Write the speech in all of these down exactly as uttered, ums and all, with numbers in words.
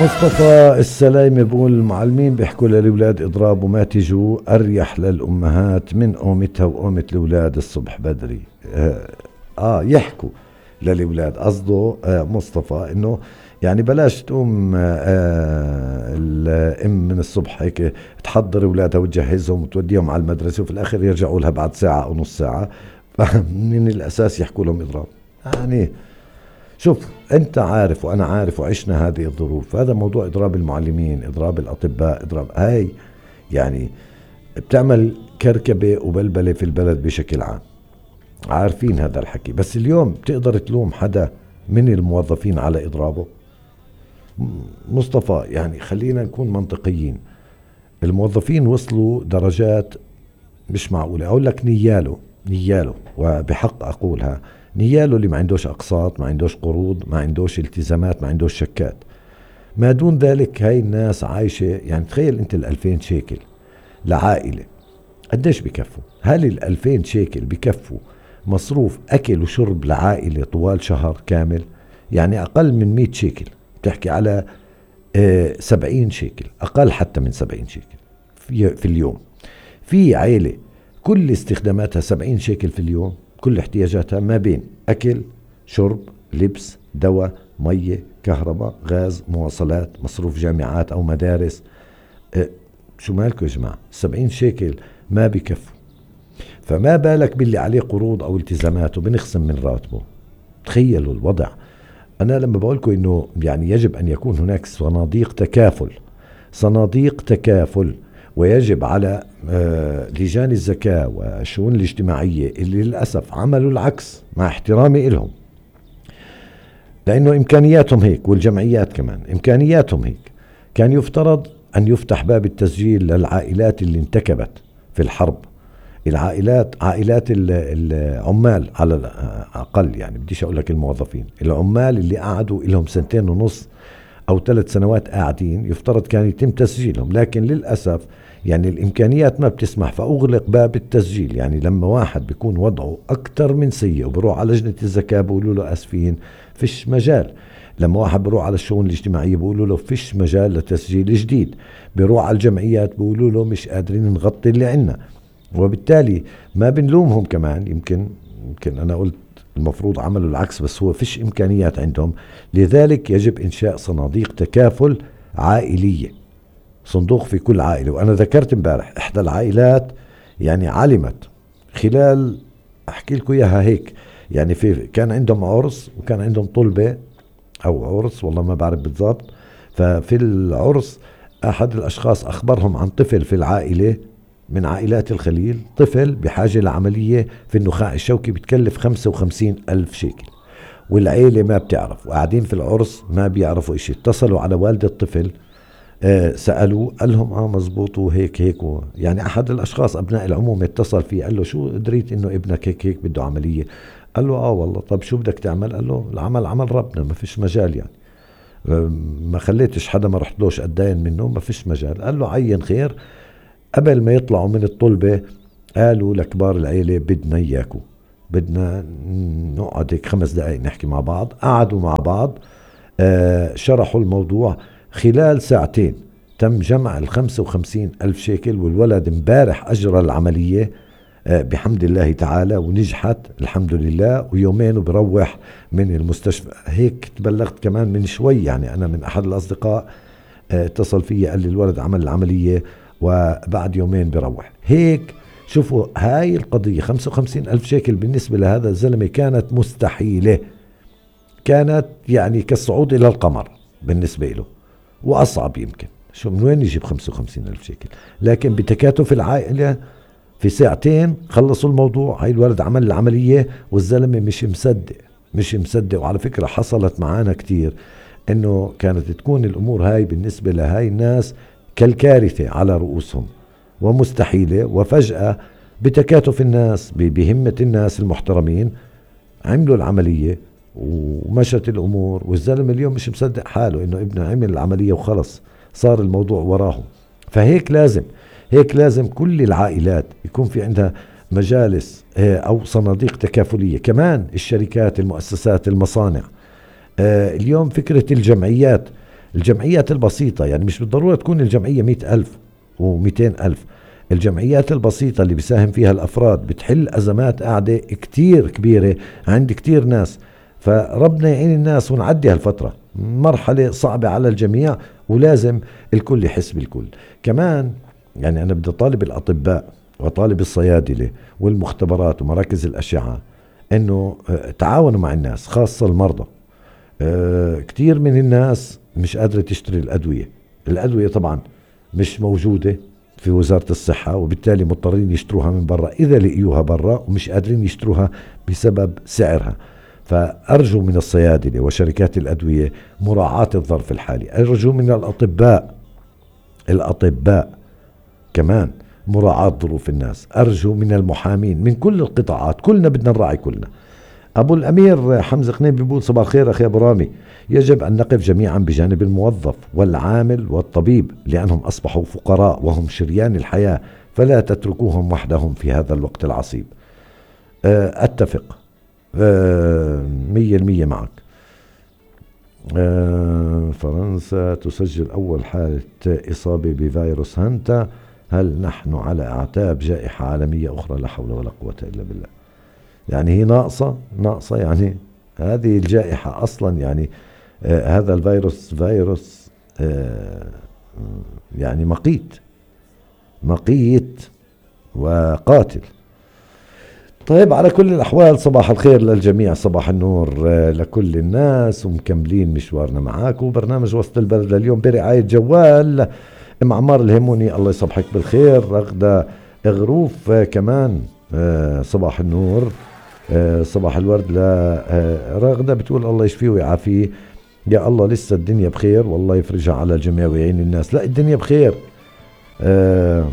مصطفى السلايمي بقول المعلمين بيحكوا للأولاد اضربوا ما تجوا أريح للأمهات من قومتها وقومة الأولاد الصبح بدري. آه, آه يحكوا للأولاد قصده آه مصطفى إنه يعني بلاش تقوم آه الأم من الصبح هيك تحضر أولادها وتجهزهم وتوديهم على المدرسة وفي الآخر يرجعوا لها بعد ساعة أو نص ساعة. من الأساس يحكوا لهم اضرب. يعني شوف انت عارف وانا عارف وعشنا هذه الظروف. هذا موضوع اضراب المعلمين، اضراب الاطباء، اضراب هاي يعني بتعمل كركبة وبلبلة في البلد بشكل عام، عارفين هذا الحكي. بس اليوم بتقدر تلوم حدا من الموظفين على اضرابه؟ مصطفى يعني خلينا نكون منطقيين، الموظفين وصلوا درجات مش معقولة. اقول لك نياله نياله وبحق اقولها نياله اللي ما عندوش أقساط، ما عندوش قروض، ما عندوش التزامات، ما عندوش شكات. ما دون ذلك هاي الناس عايشة. يعني تخيل انت الألفين شيكل لعائلة قديش بكفوا؟ هل الألفين شيكل بكفوا مصروف أكل وشرب لعائلة طوال شهر كامل؟ يعني أقل من مئة شيكل بتحكي على آه سبعين شيكل، أقل حتى من سبعين شيكل في, في اليوم. في عائلة كل استخداماتها سبعين شيكل في اليوم، كل احتياجاتها ما بين أكل، شرب، لبس، دواء، مية، كهرباء، غاز، مواصلات، مصروف جامعات أو مدارس. اه شو مالكم يا جماعة؟ سبعين شيكل ما بكفوا، فما بالك باللي عليه قروض أو التزامات وبنخصم من راتبه. تخيلوا الوضع. أنا لما بقولكم إنه يعني يجب أن يكون هناك صناديق تكافل، صناديق تكافل، ويجب على لجان الزكاة والشؤون الاجتماعية اللي للأسف عملوا العكس، مع احترامي إلهم، لأنه إمكانياتهم هيك، والجمعيات كمان إمكانياتهم هيك. كان يفترض أن يفتح باب التسجيل للعائلات اللي انتكبت في الحرب، العائلات عائلات العمال على الأقل، يعني بديش أقول لك الموظفين، العمال اللي قعدوا لهم سنتين ونص أو ثلاث سنوات قاعدين، يفترض كان يتم تسجيلهم. لكن للأسف يعني الإمكانيات ما بتسمح، فأغلق باب التسجيل. يعني لما واحد بيكون وضعه أكتر من سيء وبروح على لجنة الزكاة بيقولوا له أسفين فيش مجال. لما واحد بروح على الشؤون الاجتماعية بيقولوا له فيش مجال لتسجيل جديد. بيروح على الجمعيات بيقولوا له مش قادرين نغطي اللي عنا. وبالتالي ما بنلومهم كمان، يمكن يمكن أنا قلت المفروض عملوا العكس، بس هو فيش إمكانيات عندهم. لذلك يجب إنشاء صناديق تكافل عائلية، صندوق في كل عائلة. وأنا ذكرت امبارح إحدى العائلات يعني علمت خلال، أحكي لكم إياها هيك، يعني في كان عندهم عرس وكان عندهم طلبة أو عرس والله ما بعرف بالضبط. ففي العرس أحد الأشخاص أخبرهم عن طفل في العائلة من عائلات الخليل، طفل بحاجة لعملية في النخاع الشوكي بتكلف خمسة وخمسين ألف شيكل، والعيلة ما بتعرف وقاعدين في العرس ما بيعرفوا إشي. اتصلوا على والد الطفل، آه سألوا، قال لهم اه مزبوط وهيك هيك و... يعني أحد الأشخاص أبناء العموم اتصل فيه قال له شو دريت إنه ابنك هيك هيك بده عملية؟ قال له اه والله. طب شو بدك تعمل؟ قال له العمل عمل ربنا، ما فيش مجال، يعني ما خليتش حدا ما رحتلوش أتداين منه، ما فيش مجال. قال له عين خير. قبل ما يطلعوا من الطلبة قالوا لكبار العيلة بدنا إياكو، بدنا نقعد هيك خمس دقائق نحكي مع بعض. قعدوا مع بعض، آه شرحوا الموضوع. خلال ساعتين تم جمع الخمسة وخمسين ألف شيكل، والولد امبارح أجرى العملية آه بحمد الله تعالى ونجحت الحمد لله، ويومين وبروح من المستشفى. هيك تبلغت كمان من شوي، يعني أنا من أحد الأصدقاء آه اتصل فيه قال لي الولد عمل العملية وبعد يومين بروح. هيك شوفوا هاي القضية خمسة وخمسين ألف شيكل بالنسبة لهذا الزلمة كانت مستحيلة، كانت يعني كالصعود إلى القمر بالنسبة له، وأصعب يمكن. شو من وين يجيب خمسة وخمسين ألف شيكل؟ لكن بتكاتف العائلة في ساعتين خلصوا الموضوع. هاي الولد عمل العملية والزلمة مش مصدق مش مصدق. وعلى فكرة حصلت معانا كتير إنه كانت تكون الأمور هاي بالنسبة لهاي الناس كالكارثة على رؤوسهم ومستحيلة، وفجأة بتكاتف الناس بهمة الناس المحترمين عملوا العملية ومشت الأمور. والزلمة اليوم مش مصدق حاله إنه ابنه عمل العملية وخلص صار الموضوع وراه. فهيك لازم هيك لازم كل العائلات يكون في عندها مجالس أو صناديق تكافلية. كمان الشركات، المؤسسات، المصانع. اليوم فكرة الجمعيات الجمعيات البسيطة، يعني مش بالضرورة تكون الجمعية مئة ألف ومئتين ألف، الجمعيات البسيطة اللي بيساهم فيها الأفراد بتحل أزمات قاعدة كتير كبيرة عند كتير ناس. فربنا يعين الناس ونعدي هالفترة، مرحلة صعبة على الجميع ولازم الكل يحس بالكل. كمان يعني أنا بدي طالب الأطباء وطالب الصيادلة والمختبرات ومراكز الأشعة أنه تعاونوا مع الناس، خاصة المرضى. كتير من الناس مش قادرة تشتري الأدوية، الأدوية طبعا مش موجودة في وزارة الصحة، وبالتالي مضطرين يشتروها من برا إذا لقيوها برا، ومش قادرين يشتروها بسبب سعرها. فأرجو من الصيادلة وشركات الأدوية مراعاة الظرف الحالي، أرجو من الأطباء الأطباء كمان مراعاة ظروف الناس، أرجو من المحامين من كل القطاعات، كلنا بدنا نراعي كلنا. أبو الأمير حمزة قنيم بيقول صباح الخير أخي أبو رامي، يجب أن نقف جميعا بجانب الموظف والعامل والطبيب لأنهم أصبحوا فقراء وهم شريان الحياة، فلا تتركوهم وحدهم في هذا الوقت العصيب. أتفق مية المية معك. فرنسا تسجل أول حالة إصابة بفيروس هانتا، هل نحن على أعتاب جائحة عالمية أخرى؟ لا حول ولا قوة إلا بالله. يعني هي ناقصة ناقصة يعني هذه الجائحة أصلا، يعني آه هذا الفيروس فيروس آه يعني مقيت مقيت وقاتل. طيب على كل الأحوال صباح الخير للجميع، صباح النور آه لكل الناس، ومكملين مشوارنا معاكم. برنامج وسط البلد اليوم برعاية جوال ام عمار الهيموني، الله يصبحك بالخير. رغدة غروف آه كمان آه صباح النور، آه صباح الورد لرغدة، بتقول الله يشفيه ويعافيه يا الله، لسه الدنيا بخير والله يفرجها على الجميع ويعين الناس. لا الدنيا بخير، آه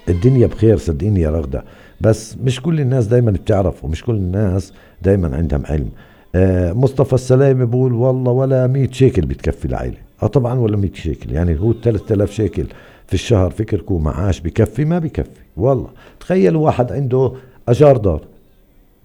الدنيا بخير صدقيني يا رغدة، بس مش كل الناس دايما بتعرف ومش كل الناس دايما عندهم علم. آه مصطفى السلامي بقول والله ولا مية شيكل بتكفي العائلة. اه طبعا ولا مية شيكل، يعني هو ثلاثة آلاف شيكل في الشهر فكركم معاش بكفي؟ ما بكفي والله. تخيلوا واحد عنده أجار دار،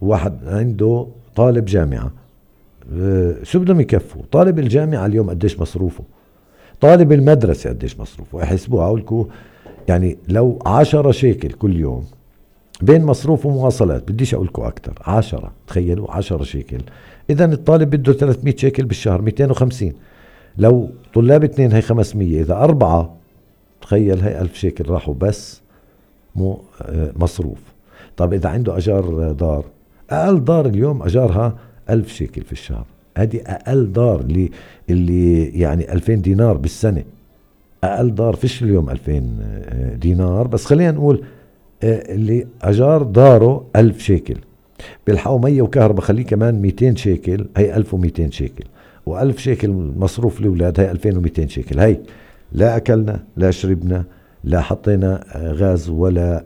واحد عنده طالب جامعة، أه شو بدهم يكفوا؟ طالب الجامعة اليوم قديش مصروفه؟ طالب المدرسة قديش مصروفه؟ احسبوها أقولكم، يعني لو عشرة شيكل كل يوم بين مصروف ومواصلات، بديش أقولكم أكتر، عشرة، تخيلوا عشرة شيكل، إذن الطالب بده ثلاثمية شيكل بالشهر، مئتين وخمسين. لو طلاب اثنين هي خمسمية، إذا أربعة تخيل هي ألف شيكل راحوا بس مو مصروف. طب إذا عنده أجار دار، أقل دار اليوم أجارها ألف شيكل في الشهر، هذه أقل دار اللي اللي يعني ألفين دينار بالسنة. أقل دار فيش اليوم ألفين دينار، بس خلينا نقول اللي أجار داره ألف شيكل، بالحقوا مية وكهرباء خليه كمان مئتين شيكل، هي ألف ومئتين شيكل، وألف شيكل مصروف لأولاد هي ألفين ومئتين شيكل. هي لا أكلنا لا شربنا لا حطينا غاز ولا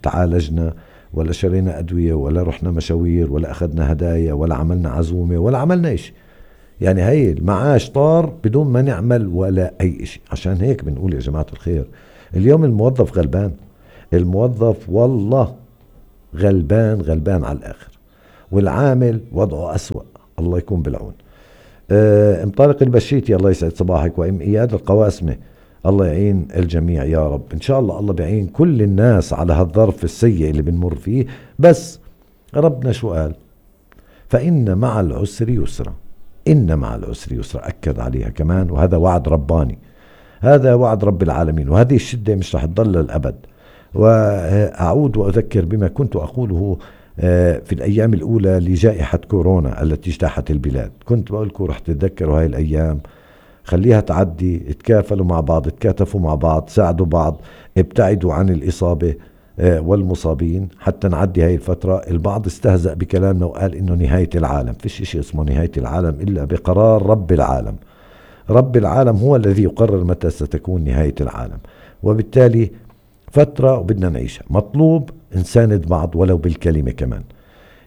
تعالجنا ولا شرينا أدوية ولا رحنا مشاوير ولا أخذنا هدايا ولا عملنا عزومة ولا عملنا إيش. يعني هي المعاش طار بدون ما نعمل ولا أي إشي. عشان هيك بنقول يا جماعة الخير اليوم الموظف غلبان، الموظف والله غلبان غلبان على الآخر، والعامل وضعه أسوأ، الله يكون بالعون. اه ام طارق البشيتي الله يسعد صباحك، وام اياد القواسمة الله يعين الجميع يا رب. ان شاء الله الله بيعين كل الناس على هالظرف السيء اللي بنمر فيه. بس ربنا شو قال؟ فإن مع العسر يسرا، إن مع العسر يسرا، أكد عليها كمان، وهذا وعد رباني، هذا وعد رب العالمين، وهذه الشدة مش رح تضل للأبد. وأعود وأذكر بما كنت أقوله في الأيام الأولى لجائحة كورونا التي اجتاحت البلاد. كنت بقول لكم رح تتذكروا هاي الأيام، خليها تعدي، اتكافلوا مع بعض، اتكاتفوا مع بعض، ساعدوا بعض، ابتعدوا عن الإصابة والمصابين حتى نعدي هاي الفترة. البعض استهزأ بكلامنا وقال إنه نهاية العالم، فيش إشي اسمه نهاية العالم إلا بقرار رب العالم. رب العالم هو الذي يقرر متى ستكون نهاية العالم، وبالتالي فترة وبدنا نعيشها. مطلوب نساند بعض ولو بالكلمة كمان،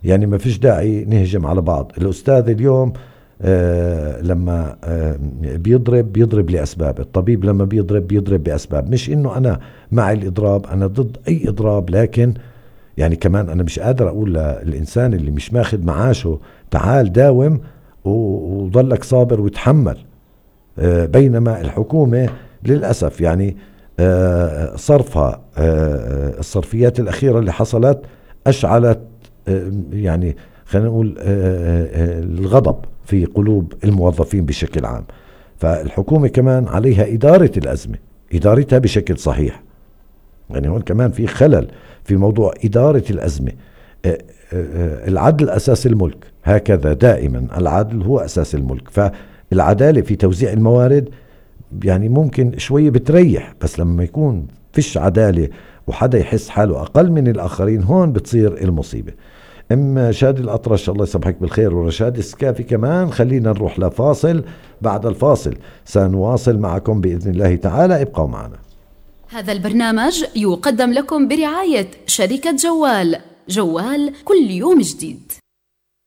يعني ما فيش داعي نهجم على بعض. الأستاذ اليوم آه لما آه بيضرب بيضرب لأسباب، الطبيب لما بيضرب بيضرب بأسباب. مش إنه أنا مع الإضراب، أنا ضد أي إضراب، لكن يعني كمان أنا مش قادر أقول للإنسان اللي مش ماخد معاشه تعال داوم، وضلك صابر وتحمل. بينما الحكومة للأسف يعني صرفها الصرفيات الأخيرة اللي حصلت أشعلت يعني خلينا نقول الغضب في قلوب الموظفين بشكل عام. فالحكومة كمان عليها إدارة الأزمة، إدارتها بشكل صحيح. يعني هون كمان في خلل في موضوع إدارة الأزمة. العدل أساس الملك، هكذا دائما العدل هو أساس الملك. فالعدالة في توزيع الموارد يعني ممكن شوية بتريح، بس لما يكون فيش عدالة وحدا يحس حاله أقل من الآخرين هون بتصير المصيبة. أما شادي الأطرش الله يصبحك بالخير، ورشاد السكافي كمان. خلينا نروح لفاصل، بعد الفاصل سنواصل معكم بإذن الله تعالى، ابقوا معنا. هذا البرنامج يقدم لكم برعاية شركة جوال، جوال كل يوم جديد.